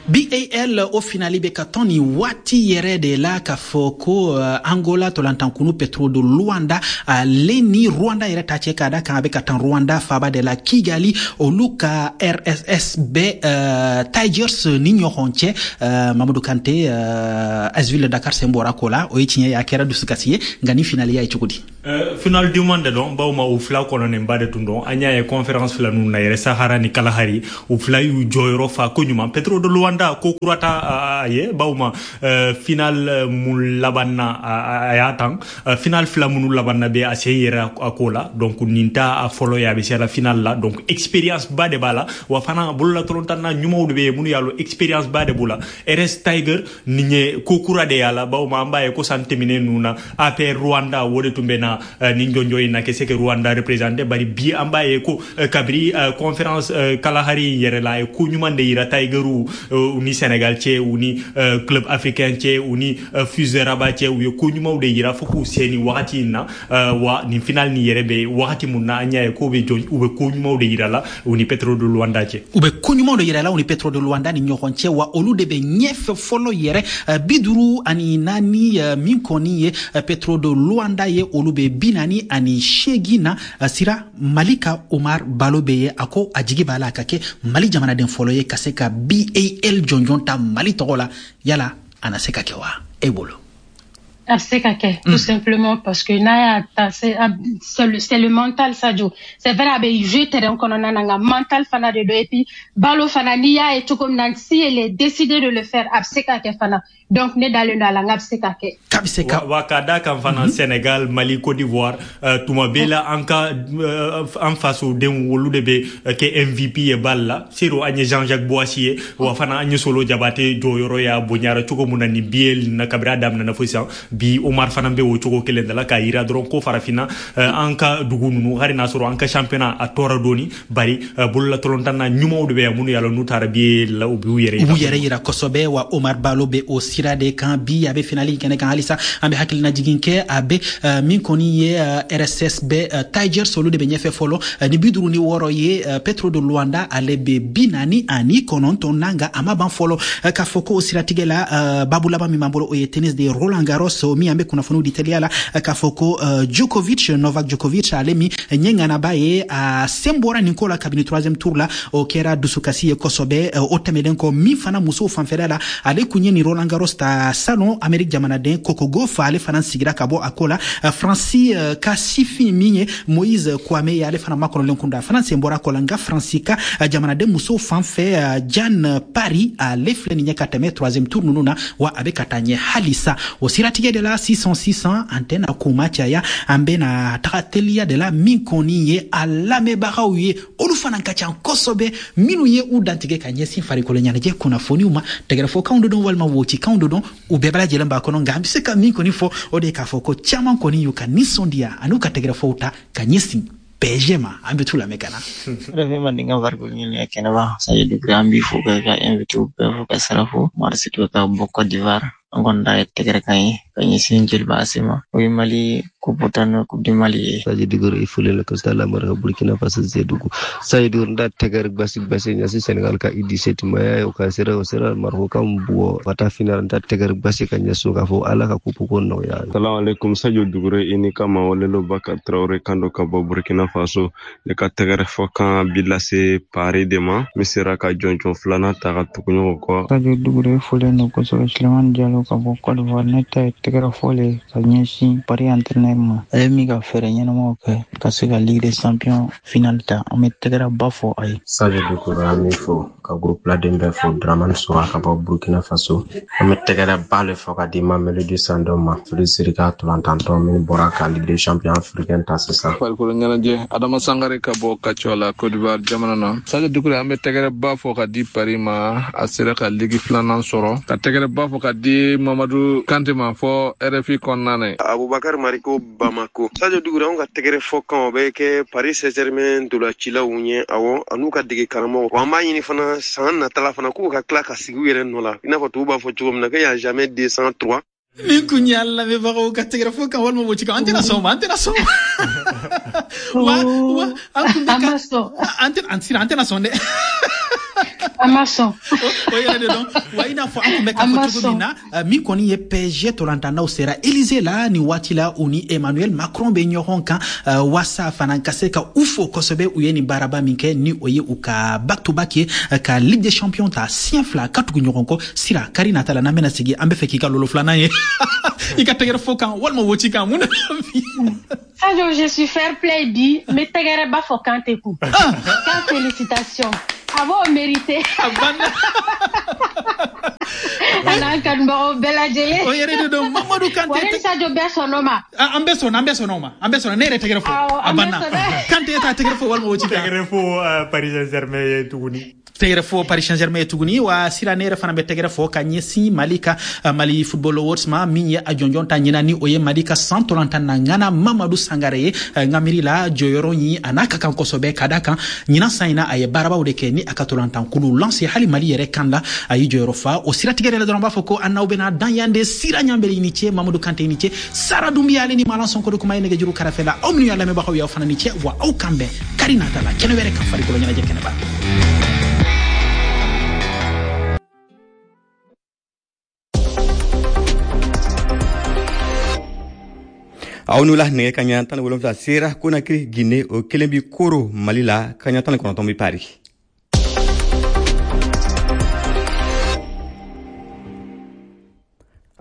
BAL o finali bɛ ka tɔn nin waati yɛrɛ de la, k'a fɔ ko Angola tolantankunu Petro de Luanda, ale ni Rwanda yɛrɛ ta cɛ, k'a da kan a bɛ ka tan Rwanda faaba de la, Kigali. Olu ka RSS bɛ Tigers ni ɲɔgɔn cɛ. Mamadou Kante, AS Ville de Dakar sen bɔra ko la, o ye tiɲɛ ye, a kɛra dusukasi ye, nka ni finali y'a ye cogo di? Final duman de dɔn, bawo ma u fila kɔnɔnenba de tun dɔn. An y'a ye conférence fila ninnu na yɛrɛ, Sahara ni Kalahari, u fila y'u jɔyɔrɔ fa ko ɲuman. Petro de Luanda ko kura ta a ye, bawo ma final mun laban na a y'a tan, final fila minnu laban na bɛ a sen yɛrɛ a ko la. Donc nin ta a fɔlɔ ye a bɛ se la final la, donc expérience ba de b'a la. Wa fana bololatɔlɔntan na ɲumanw de bɛ yen minnu y'a lɔn, expérience ba de b'u la. RS Tiger nin ye ko kura de y'a la, bawo ma an b'a ye ko san tɛmɛnen ninnu na, APR Rwanda o de tun bɛ na nin jɔnjɔn in na ka se ka Rwanda représenter. Bari bi an b'a ye ko kabiri conférence Kalahari in yɛrɛ la, a ye ko ɲuman de yira Tigerw u ni Sénégal cɛ, u ni Club Africain cɛ, u ni FUS de Rabat cɛ. U ye ko ɲumanw de yira fo k'u se nin wagati in na. Wa nin final nin yɛrɛ bɛ wagati mun na, an y'a ye k'o bɛ jɔ, u bɛ ko ɲumanw de yira la u ni Petro de Luanda cɛ. U bɛ ko ɲumanw de yira la u ni Petro de Luanda ni ɲɔgɔn cɛ, wa olu de bɛ ɲɛfɛ fɔlɔ yɛrɛ, 54. Min kɔni ye Petro de Luanda ye, olu bɛ 48 na. Sira Mali ka Omar Balo bɛ ye, a ko a jigi b'a la a ka kɛ Mali jamanaden fɔlɔ ye ka se ka BAL jɔnjɔn ta Mali tɔgɔ la. Yala a na se ka kɛ wa e bolo? A bɛ se ka kɛ, tout simplement parce que n'a y'a ta, c'est le mental, Sadio. C'est vrai, a bɛ jouer terrain kɔnɔna na, nka mental fana de don. Et puis Balo fana, n'i y'a ye cogo min na, si elle est décidée de le faire, a bɛ se ka kɛ fana. Donc ne dalen don a la n k'a bɛ se ka kɛ. K'a bɛ se ka Wa ka da kan fana, Sénégal, Mali, Côte d'Ivoire, tuma bɛɛ la an ka an fasodenw olu de bɛ kɛ MVP ye bal la. Sero an ye Jean-Jacques Boissy ye, wa fana an ye Solo Jabate jɔyɔrɔ y'a bonyara cogo mun na nin BAL na kabiri a daminɛna fo sisan. Bi Omar fana bɛ o cogo kelen de la, k'a yira dɔrɔn ko farafinna, an ka dugu ninnu, hali n'a sɔrɔ an ka championnat a tɔɔrɔ dɔɔni, bari bololatɔlɔntan na ɲumanw de bɛ yan minnu y'a lɔn n'u taara BAL la, u b'u yɛrɛ U b'u yɛrɛ yira kosɛbɛ. Wa Omar Balo bɛ o sira de kan bi, a bɛ finali kɛnɛ kan halisa. An bɛ hakilina jigin kɛ, a bɛ min kɔni ye RSS bɛ Tigers, olu de bɛ ɲɛfɛ fɔlɔ ni 56 ye. Petro de Luanda, ale bɛ 49 na, nka a ma ban fɔlɔ. K'a fɔ ko o siratigɛ la, babu laban min b'an bolo, o ye tennis de Roland Garros min an bɛ kunnafoniw di teliya la, k'a fɔ ko Djokovic, Novak Djokovic, ale min ɲɛ ŋanaba ye, a sen bɔra nin ko la kabini troisième tour la. O kɛra dusukasi ye kosɛbɛ. O tɛmɛnen kɔ, min fana musow fanfɛla la, ale kun ye nin Roland Garros ta salon, Amérique jamanaden Coco Gauff, ale fana sigira ka bɔ a ko la. Faransi ka sifin min ye Moïse Kouame ye, ale fana makɔnɔlen kun don, a fana sen bɔra a ko la. Nka Faransi ka jamanaden musow fan fɛ, Diane Paris, ale filɛ nin ye ka tɛmɛ troisième tour ninnu na, wa a bɛ ka taa ɲɛ halisa. O siratigɛ de la, sisan sisan, an tɛna kuma caya, an bɛna taga teliya de la. Min kɔni ye a lamɛnbagaw ye, olu fana ka ca kosɛbɛ, minnu ye u dantigɛ ka ɲɛsin farikolo ɲɛnajɛ kunnafoniw ma, tɛgɛrɛfɔkanw de don walima wocikanw de don, u bɛɛ bɛ lajɛlen b'a kɔnɔ. Nka an bɛ se ka min kɔni fɔ, o de ye k'a fɔ ko caman kɔni y'u ka nisɔndiya an'u ka tɛgɛrɛfɔw ta ka ɲɛsin PSG ma. An bɛ t'u lamɛn ka na. RFI Mandenkan farikolo ɲɛnajɛ kɛnɛba, Sadio Doucouré, an b'i fo ka ka invité bɛɛ fo ka sira fo. Umar Sidibe ka bɔ Côte d'Ivoire. An kɔni ta ye tɛgɛrɛ kan ye ka ɲɛsin Joliba AC ma, o ye Mali coupe ta n'o Coupe du Mali ye. Sadio Doucouré, i folen la ka lamara Burkina Faso, Zedugu. Sadio Doucouré, nda tɛgɛrɛ gbasi gbasi ɲɛsin Senegal ka U17 ma ya o ka sera o sera Maroc kan bugɔ ka taa final. Nda tɛgɛrɛ gbasi ka ɲɛsin k'a fɔ Ala ka coupe ko nɔgɔya. Salamu alaikum, Sadio Doucouré, i ni kama Walelo Bakar Traoré kan do ka bɔ Burkina Faso. Ne ka tɛgɛrɛ fɔ kan bi lase Paris de ma, min sera ka jɔnjɔn filanan ta ka tugu ɲɔgɔn kɔ. Sadio Doucouré folen don kosɛbɛ. Sulemani Jalo ka bɔ Côte d'Ivoire. Ne ta ye tɛgɛrɛ fɔ le ka ɲɛsin Paris entraîneur ma, ale min ka fɛɛrɛ ɲɛnamaw kɛ ka se ka Ligue des Champions finale ta. An bɛ tɛgɛrɛ ba fɔ a ye. Sadio Doucouré, an b'i fo ka groupe laden bɛɛ fo. Dramane Sowa ka bɔ Burkina Faso. An bɛ tɛgɛrɛ ba le fɔ ka di Mamelodi Sundowns ma, Félicité ka tolantantɔn min bɔra ka Ligue des Champions africaine ta sisan. Farikolo ɲɛnajɛ, Adama Sangare ka bɔ Kacɔ Côte d'Ivoire jamana na. Sadio Doucouré, an bɛ tɛgɛrɛ ba fɔ ka di Paris ma, a sera ka ligue filanan sɔrɔ. Ka tɛgɛrɛ ba fɔ ka di Mamadu Kante ma fɔ RFI kɔnɔna na. Abubakar Mariko, Bamako. Sadio Doucouré, anw ka tɛgɛrɛ fɔ kan o bɛ kɛ Paris Saint-Germain dolacilaw ɲɛ, awɔ, an'u ka dege karamɔgɔ. Wa an b'a ɲini fana san natala fana k'u ka tila ka sigi u yɛrɛ nɔ la, i n'a fɔ tubabu b'a fɔ cogo min na ko y a jamais 203. Nin kun y'a lamɛnbagaw ka tɛgɛrɛ fɔ kan walima wocikan. An tɛna sɔn o ma, an tɛna sɔn wa an kun bɛ ka an tɛna an tɛna sɔn dɛ. An ma sɔn. O yɛrɛ de dɔn wa, i n'a fɔ an tun bɛ k'a fɔ cogo min na, min kɔni ye PSG tolantannaw sera Élysée la nin waati la, u ni Emmanuel Macron bɛ ɲɔgɔn kan waasa fana ka se ka u fo kosɛbɛ, u ye nin baaraba min kɛ, ni o ye u ka back to back ye, ka Ligue des Champions ta siɲɛ 2 ka tugu ɲɔgɔn kɔ. Sira, kari nata la, n'an bɛna sigi, an bɛ fɛ k'i ka lolo filanan ye, i ka tɛgɛrɛ fɔ kan walima woci kan, mun na? Sadio, je suis fair play bi, n bɛ tɛgɛrɛ ba fɔ Kante kun. Kan félicitations. A b'o mérité. A banna. A n'an kanubagaw bɛɛ lajɛlen. O yɛrɛ de don, Mamadu Kante. Wa ni Sadio bɛɛ sɔnn'o ma. An bɛɛ sɔnna, an bɛɛ sɔnna o ma. An bɛɛ sɔnna, ne yɛrɛ tɛgɛrɛ fɔ. A banna. Kante, e t'a tɛgɛrɛ fɔ walima o ci kan? Tɛgɛrɛ fɔ Paris Saint-Germain ye tuguni. Tɛgɛrɛ fɔ Paris Saint-Germain ye tuguni. Wa Sira, ne yɛrɛ fana bɛ tɛgɛrɛ fɔ ka ɲɛsin Mali ka Mali Football Awards ma, min ye a jɔnjɔn ta ɲinan, ni o ye Mali ka san tolantan na ŋana Mamadu Sangare ye. N ka miiri la, jɔyɔrɔ in a n'a ka kan kosɛbɛ, ka da kan ɲinan san in na, a ye baarabaw de kɛ ni a ka tolantan kulu Lens, hali Mali yɛrɛ kan la, a y'i jɔyɔrɔ fa. O siratigɛ yɛrɛ dɔrɔn, b'a fɔ ko an n'aw bɛna dan yan de. Sira Ɲanbele i ni ce, Mamadu Kante i ni ce, Sara Dunbiya ale ni Malan Sɔnko de kuma ye nɛgɛjuru kɛrɛfɛ la. Aw minnu y'a lamɛnbagaw ye, aw fana ni ce wa, aw kan bɛn kari nata la kɛnɛ wɛrɛ kan, farikolo ɲɛnajɛ kɛnɛba. Aw n'u la, nɛgɛ kaɲa 17 sera Konakiri, Guinée, o kelen bi Koro, Mali la, kaɲa 19 bi Paris.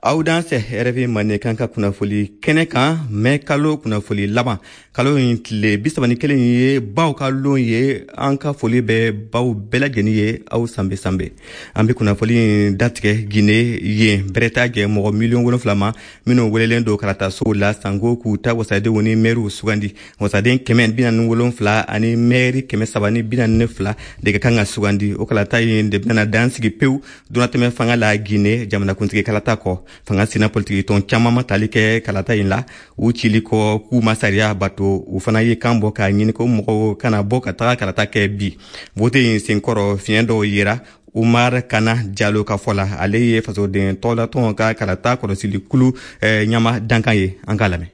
Aw dansɛ RFI Mandenkan ka kunnafoli kɛnɛ kan. Mɛ kalo kunnafoli laban, kalo in tile 31 ye baw ka lon ye. An ka foli bɛ baw bɛɛ lajɛlen ye, aw sanbe sanbe. An bɛ kunnafoli in datigɛ Guinée, yen bɛrɛ t'a jɛ mɔgɔ 7 miliyɔn ma minnu welelen don kalatasow la sanko k'u ta wasadenw ni mɛriw sugandi. Wasaden 147 ani mɛri 342 de ka kan ka sugandi. O kalata in de bɛna dan sigi pewu donnatɛmɛ fanga la Guinée jamanakuntigi kalata kɔ. Fanga sina politiki tɔn caman ma tali kɛ kalata in la, u cili kɔ k'u ma sariya bato. U fana ye kan bɔ k'a ɲini ko mɔgɔw kana bɔ ka taga kalata kɛ bi. Vote in senkɔrɔ, fiɲɛ dɔw yera Umar Kana Jalo ka fɔ la, ale ye fasoden tɔgɔlatɔn ka kalata kɔlɔsili kulu ɲama dankan ye. An k'a lamɛn.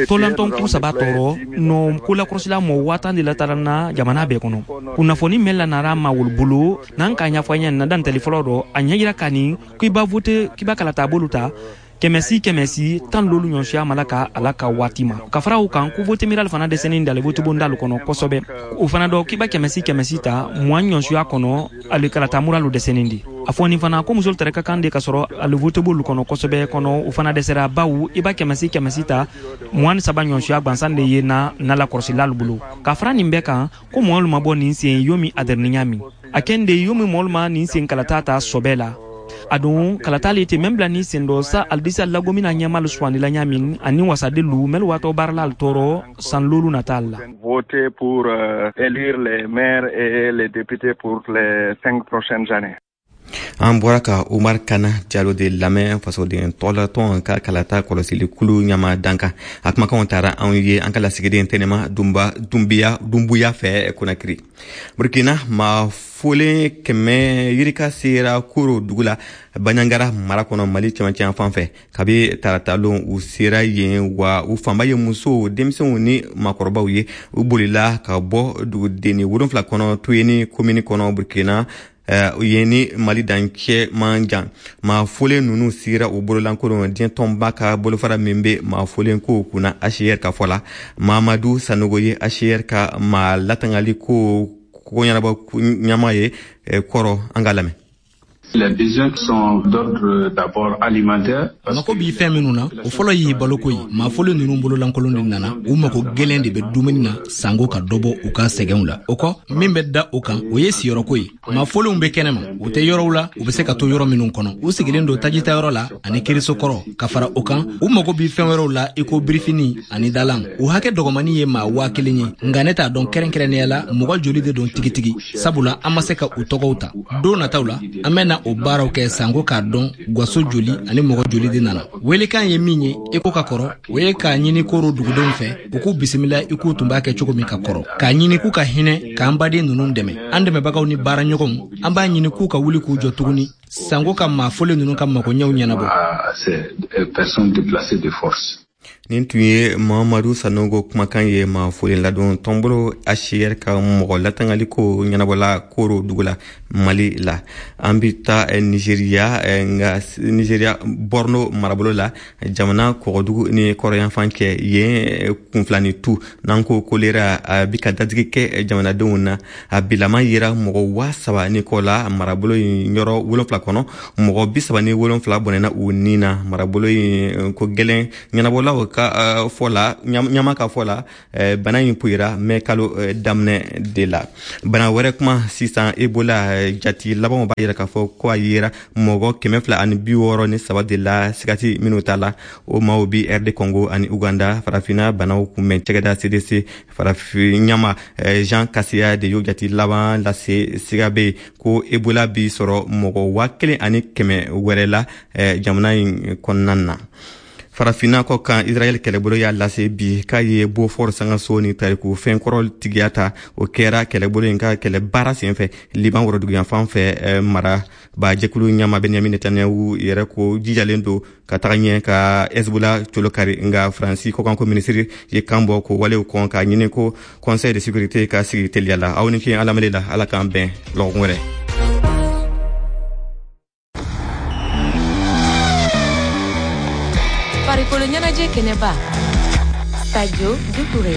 Tɔlantɔn kuru saba tɔɔrɔ nɔ kolakɔrɔsila mɔ 10 000 de latara na jamana bɛɛ kɔnɔ. Kunnafoni mɛn lanara ma wolu bolo n'an k'a ɲɛfɔ an ɲɛ na dantɛli fɔlɔ dɔ, a ɲɛ yira ka nin k'i ba vote, k'i ba kalata bolu ta kɛmɛ si kɛmɛ si tan lolu ɲɔsiya mala ka ala ka waati ma. Ka fara o kan, ko vote miral fana dɛsɛnin dale vote bondalu kɔnɔ kosɛbɛ. O fana dɔ, k'i ba kɛmɛ si kɛmɛ si ta 20 ɲɔsiya kɔnɔ, ale kalata muralu dɛsɛnin di. A fɔ nin fana ko musolu tɛrɛ ka kan de ka sɔrɔ ale vote bolu kɔnɔ kosɛbɛ kɔnɔ, o fana dɛsɛra, bawo i ba kɛmɛ si kɛmɛ si ta 23 ɲɔsiya gwansan de ye na nala kɔrɔsilalu bolo. Ka fara nin bɛɛ kan, ko mɔɔlu ma bɔ nin sen yomi adɛrɛninya min a kɛn de yomi mɔɔlu ma nin sen kalata ta sɔbɛ la. A don kalata le te mɛn bila ni sen dɔ sa alidisa lagomina ɲɛmalu sugandila ɲa min ani wasaden lu mɛlu watɔ baarala al tɔɔrɔ san lolu nata la. Voter pour élire les maires et les députés pour les 5 prochaines années. An bɔra ka Umar Kana Jalo de lamɛn, fasoden tɔgɔlatɔn ka kalata kɔlɔsili kulu ɲama dankan. A kumakanw taara anw ye an ka lasigiden Tɛnɛma Dunba Dunbiya Dunbuya fɛ Konakiri. Burkina, maa folen 100 yirika sera Koro dugu la, Baɲangara mara kɔnɔ, Mali cɛmancɛ fan fɛ, kabi taratalon. U sera yen wa, u fanba ye musow, denmisɛnw ni maakɔrɔbaw ye. U bolila ka bɔ dugudenni 7 kɔnɔ, Tuyeni komini kɔnɔ, Burkina, yen ni Mali dancɛ man jan. Maa folen ninnu sigira u bololankolon, diɲɛ tɔnba ka bolofara min bɛ maa folen kow kunna, HCR ka fɔ la. Mamadu Sanogo ye HCR ka maa latangali ko ɲɛnabɔ ɲama ye kɔrɔ. An k'a lamɛn. Les besoins sont d'ordre d'abord alimentaire. Mako b'i fɛn minnu na, o fɔlɔ y'i baloko ye. Maafolo ninnu bololankolon de nana, u mago gwɛlɛn de bɛ dumuni na sanko ka dɔ bɔ u ka sɛgɛnw la. O kɔ, min bɛ da o kan, o ye siyɔrɔko ye. Maafolenw bɛ kɛnɛma, u tɛ yɔrɔw la u bɛ se ka to yɔrɔ minnu kɔnɔ. U sigilen don tajitayɔrɔ la ani kiriso kɔrɔ. Ka fara o kan, u mago bɛ fɛn wɛrɛw la i ko birifini ani dalan. U hakɛ dɔgɔmani ye maa 1000 ye, nka ne t'a dɔn kɛrɛnkɛrɛnnenya la mɔgɔ joli de don tigitigi, sabula an ma se ka u tɔgɔw ta. Don nataw la, an bɛna o baaraw kɛ sanko k'a dɔn gaso joli ani mɔgɔ joli de nana. Welekan ye min ye i ko ka kɔrɔ, o ye k'a ɲini Koro dugudenw fɛ, u k'u bisimila i k'u tun b'a kɛ cogo min ka kɔrɔ, k'a ɲini k'u ka hinɛ k'an baden ninnu dɛmɛ. An dɛmɛbagaw ni baaraɲɔgɔnw, an b'a ɲini k'u ka wuli k'u jɔ tuguni sanko ka maa fɔlen ninnu ka magoɲɛw ɲɛnabɔ. Ces personnes déplacées de force. Nin tun ye Mamadu Sanogo kumakan ye, maa folen ladon tɔnbolo HCR ka mɔgɔ latangali ko ɲɛnabɔla Koro dugu la, Mali la. An bi taa Nigeriya, nka Nigeriya Borno marabolo la, jamana kɔgɔdugu ni kɔrɔyanfan cɛ yen, kunfilani tu n'an ko kolera, a bi ka dadigi kɛ jamanadenw na. A bilama yera mɔgɔ 3000 ni kɔ la marabolo in yɔrɔ 7 kɔnɔ. Mɔgɔ 37 bɔnɛna u ni na. Marabolo in ko gɛlɛn ɲɛnabɔlaw ka fɔ la, ɲama ka fɔ la, bana in puyera mɛ kalo daminɛ de la. Bana wɛrɛ kuma sisan, Ebola jati labanw b'a yira k'a fɔ ko a yera mɔgɔ 263 de la sigati minnu ta la. O maaw bi RD Congo ani Uganda. Farafina banaw kunbɛn cɛgɛda CDC farafin ɲama Jean Kaseya de y'o jati laban lase. Siga bɛ ko Ebola bi sɔrɔ mɔgɔ 1100 wɛrɛ la jamana in kɔnɔna na. Farafinna kɔ kan, Israɛl kɛlɛbolo y'a lase bi k'a ye Beaufort sangaso ni tariku fɛnkɔrɔ tigiya ta. O kɛra kɛlɛbolo in ka kɛlɛ baara senfɛ Liban woroduguyanfan fɛ. Marabajɛkulu ɲama Benyamin Netanyahu yɛrɛ ko jijalen don ka taga ɲɛ ka Hezbollah colo kari, nka Faransi kɔkanko minisiri ye kan bɔ ko walew kɔn, k'a ɲini ko Conseil de sécurité ka sigi teliya la. Aw ni ce an lamɛnni la, Ala k'an bɛn lɔgɔkun wɛrɛ. Farikolo ɲɛnajɛ kɛnɛba, Sadio Doucouré.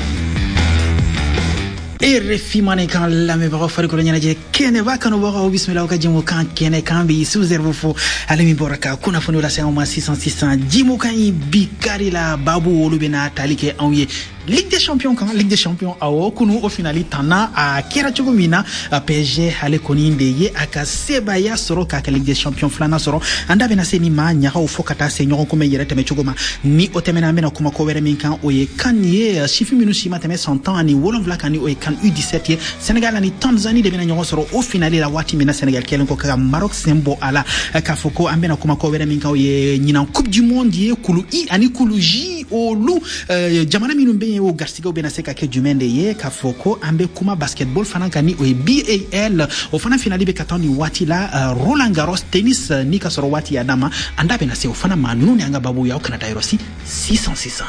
RFI Mandenkan lamɛnbagaw, farikolo ɲɛnajɛ kɛnɛba kanubagaw, bisimilaw ka jɛmukan kɛnɛ kan bi. Su Zerbo fo, ale min bɔra ka kunnafoniw lase anw ma sisan sisan. Jimukan in bi kari la, babu olu bɛna tali kɛ anw ye Ligue des Champions kan. Ligue des Champions, awɔ, kunu o finali tanna a kɛra cogo min na, PSG ale kɔni de ye a ka sebaaya sɔrɔ k'a ka Ligue des Champions filanan sɔrɔ. An da bɛna se nin ma ɲagaw fo ka taa se ɲɔgɔn kunbɛn yɛrɛ tɛmɛ cogo ma. Ni o tɛmɛna, an bɛna kuma ko wɛrɛ min kan, o ye CAN ye, sifin minnu si ma tɛmɛ san 17 kan, ni o ye CAN U17 ye. Sénégal ani Tanzanie de bɛna ɲɔgɔn sɔrɔ o finali la waati min na Sénégal kɛlen kɔ ka Maroc sen bɔ a la. K'a fɔ ko an bɛna kuma ko wɛrɛ min kan, o ye ɲinan Coupe du Monde ye, kulu I ani kulu J, olu jamana minnu bɛ yen, o garisigɛw bɛna se ka kɛ jumɛn de ye. K'a fɔ ko an bɛ kuma basketball fana kan, ni o ye BAL, o fana finali bɛ ka taa nin waati la. Roland Garros tennis ni ka sɔrɔ waati y'a d'an ma, an da bɛna se o fana ma. Ninnu ni an ka babu ye, aw kana taa yɔrɔ si sisan sisan.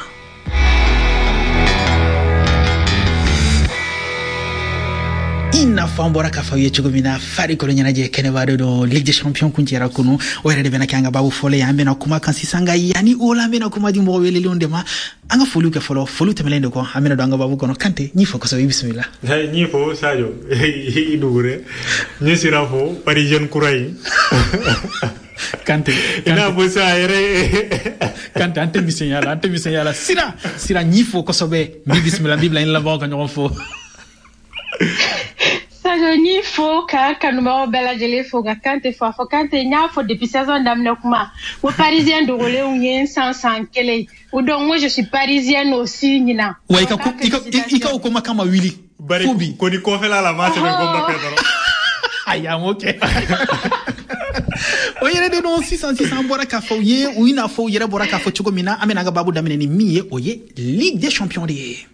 I n'a fɔ an bɔra k'a fɔ aw ye cogo min na, farikolo ɲɛnajɛ kɛnɛba de don. Ligue des Champions kuncɛra kunu, o yɛrɛ de bɛna kɛ an ka babu fɔlɔ ye. An bɛna kuma kan sisan, nka yanni o la, an bɛna kuma di mɔgɔ welelenw de ma. An ka foliw kɛ fɔlɔ, foliw tɛmɛnen de kɔ, an bɛna don an ka babu kɔnɔ. Kante, n'i fo kosɛbɛ, i bisimila. N'i fo Sadio, i Doucouré, n sira fo Parisien kura in. Kante, i n'a fɔ sa yɛrɛ. Kante, an tɛ misɛnya la, an tɛ misɛnya la. Sira, sira, n'i fo kosɛbɛ, n b'i bisimila, n b'i bila i lamɛnbagaw ka ɲɔgɔn fo. Sadio, n'i fo ka kanubagaw bɛɛ lajɛlen fo, ka Kante fo. A fɔ Kante, n y'a fɔ depuis saison daminɛ kuma ko parisien dogolenw ye n san san kelen o, donc moi je suis parisienne aussi ɲinan. Wa i ka o kuma kama wuli. Bari ko ni kɔfɛla la maa sɛbɛn ko Mbappé dɔrɔn. Ayi, an m'o kɛ. O yɛrɛ de don. Sisan sisan, an bɔra k'a fɔ u ye, u i n'a fɔ u yɛrɛ bɔra k'a fɔ cogo min na, an bɛna an ka babu daminɛ ni min ye, o ye Ligue des Champions de ye.